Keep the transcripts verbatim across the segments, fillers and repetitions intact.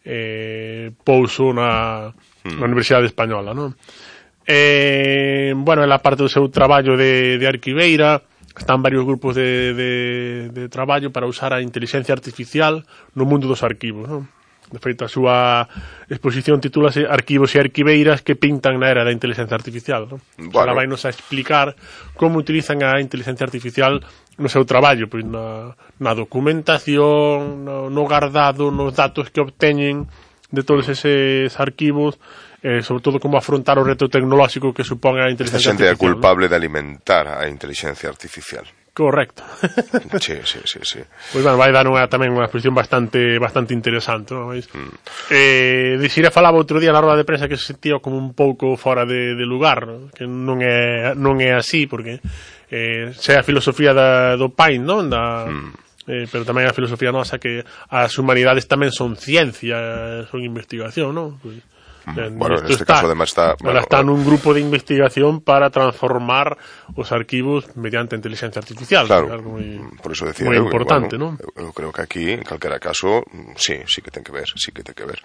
eh, pouso na, mm. na Universidade Española, non? Eh, bueno, ela parte do seu traballo de, de arquiveira, están varios grupos de, de, de traballo para usar a inteligencia artificial no mundo dos arquivos, non? De feito, a súa exposición titúlase Arquivos e arquiveiras que pintan na era da inteligencia artificial, non? Bueno. Ela vai nos a explicar como utilizan a inteligencia artificial no seu traballo, pois na, na documentación, no, no guardado, nos datos que obteñen de todos eses arquivos, eh, sobre todo como afrontar o reto tecnolóxico que supón a inteligencia artificial. Esta xente é culpable, ¿no?, de alimentar a inteligencia artificial. Correcto. Sí, sí, sí, sí. Pois bueno, vai dar unha, tamén unha exposición bastante bastante interesante, non? Mm. Eh, Dixira falaba outro día na roda de prensa que se sentía como un pouco fora de, de lugar, ¿no? Que non é non é así, porque eh, se a filosofía da, do Pain, non? Da, mm. eh, pero tamén a filosofía nosa que as humanidades tamén son ciencia, son investigación, non? Pues, bueno, en este está, caso además está... Bueno, está nun grupo de investigación para transformar os arquivos mediante inteligencia artificial. Claro, algo moi, por eso decía moi eu, importante, bueno, non? Eu, eu creo que aquí, en calquera caso, sí, sí que ten que ver, sí que ten que ver.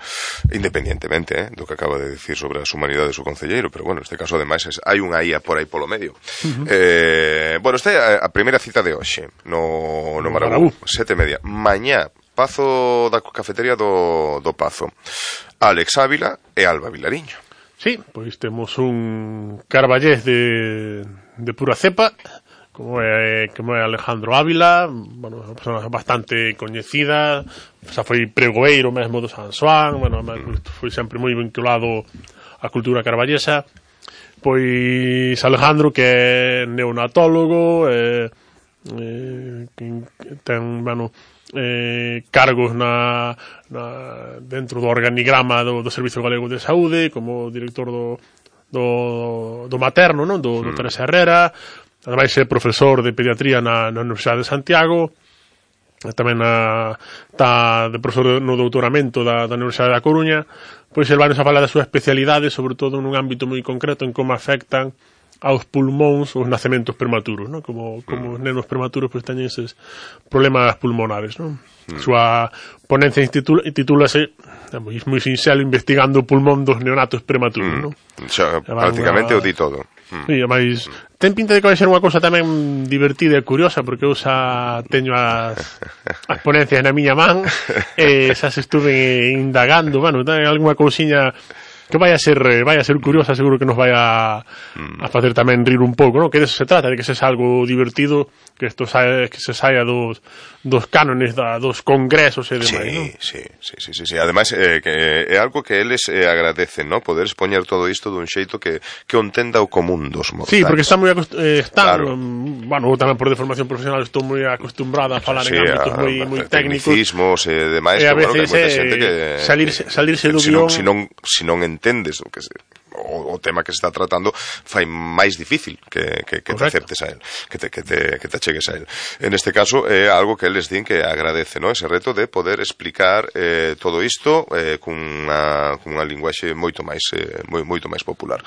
Independientemente, eh, do que acaba de decir sobre as humanidades o concelleiro, pero bueno, neste caso ademais es, hai unha I A por aí polo medio. Uh-huh. eh, bueno, esta é a, a primeira cita de hoxe, no, no Marabú, sete e media. Mañá, Pazo da cafetería do, do Pazo. Alex Ávila e Alba Vilariño. Sí, pois temos un carballés de, de pura cepa, como é, como é Alejandro Ávila, bueno, unha persona bastante coñecida, xa foi pregoeiro mesmo do San Xoán, bueno, mm. foi sempre moi vinculado á cultura carballesa. Pois Alejandro, que é neonatólogo, eh, eh, ten, bueno, Eh, cargos na, na dentro do organigrama do, do Servicio Galego de Saúde, como director do, do, do materno, non? Do, do Teresa Herrera. Ademais é profesor de pediatría na, na Universidade de Santiago, tamén na, está de profesor no doutoramento da, da Universidade da Coruña. Pois el vai nos a falar da súa especialidade, sobre todo nun ámbito moi concreto en como afectan aos pulmóns os nacementos prematuros, ¿no? Como, como mm. os nenos prematuros pues teñen eses problemas pulmonares, ¿no? Mm. Súa ponencia titúlase moi, moi sinxelo, investigando o pulmón dos neonatos prematuros, mm. ¿no? Xa, prácticamente una... o di todo. Mm. Sí, mas mm. ten pinta de que vai ser unha cousa tamén divertida e curiosa, porque eu xa teño as, as ponencias na miña man, e xa se estuve indagando, bueno, ten algunha cousiña que vai a ser vai a ser curiosa, seguro que nos vai a, a facer tamén rir un pouco, ¿no? Que de eso se trata, de que se sea algo divertido, que esto saia, que se saia dos, dos cánones da, dos congresos e demais, sí, ¿no? Sí, sí, sí, sí, sí. Ademais, eh, que é algo que eles eh, agradecen, ¿no? Poder expoñer todo isto dun xeito que, que o entenda o común dos mortais. Sí, porque está moi eh, están, claro. um, bueno, tamén por deformación profesional estou moi acostumbrada a falar sí, en ámbitos moi moi técnicos. Tecnicismos e eh, demais, e a que, veces bueno, que hai moita eh, xente que salirse, salirse do si guión... Non, si, non, si non entendes o que se... O, o tema que se está tratando fai máis difícil que, que, que te aceptes a él, que te, que, te, que te achegues a él. En este caso é algo que eles din que agradece, ¿no? Ese reto de poder explicar eh, todo isto eh, cunha, cunha linguaxe moito máis eh, moi, moito máis popular,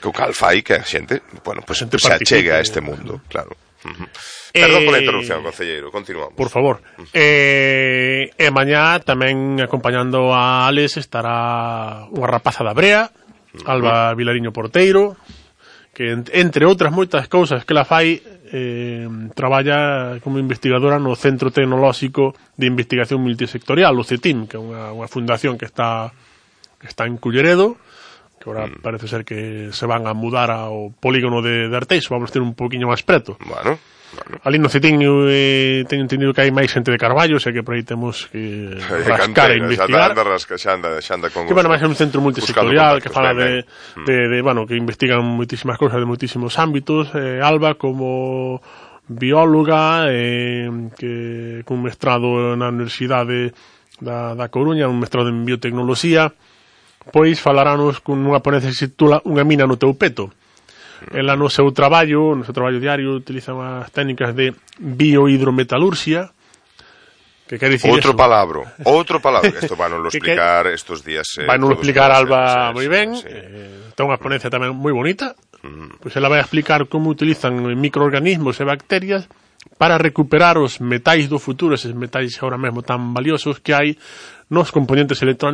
que o cal fai que a xente, bueno, pues, pues se achegue a este mundo, claro. Uh-huh. Perdón eh, pola interrupción, concelleiro, continuamos. Por favor. Uh-huh. eh, e mañá tamén acompañando a Alex estará unha rapaza da Brea, Alba Vilariño Porteiro, que entre outras moitas cousas que la fai, eh, traballa como investigadora no Centro Tecnolóxico de Investigación Multisectorial, o CETIM, que é unha, unha fundación que está que está en Culleredo, que agora mm. parece ser que se van a mudar ao polígono de, de Arteixo, vamos ter un poquinho máis preto. Bueno, bueno. Ali no CETIM eh, teño entendido que hai máis xente de Carballo, sei que por aí temos que rascar e investigar. Xa anda, rasca, xa anda, xa anda con que, bueno, máis é un centro multisectorial que fala de, de, de, bueno, que investigan moitísimas cousas de moitísimos ámbitos. eh, Alba como bióloga, eh, que cun mestrado na Universidade da, da Coruña, un mestrado en biotecnoloxía, pois falaranos con unha ponencia que se titula Unha mina no teu peto. Ela no seu traballo, no seu traballo diario, utiliza as técnicas de biohidrometalurxia, que quer dicir outro eso. palabro, outro palabro, que isto van a lo explicar que, estos días. Eh, van a lo explicar Alba moi ben, sí. eh, ten unha ponencia tamén moi bonita, mm. pois ela vai a explicar como utilizan microorganismos e bacterias para recuperar os metais do futuro, eses metais ahora mesmo tan valiosos que hai nos componentes electrónicos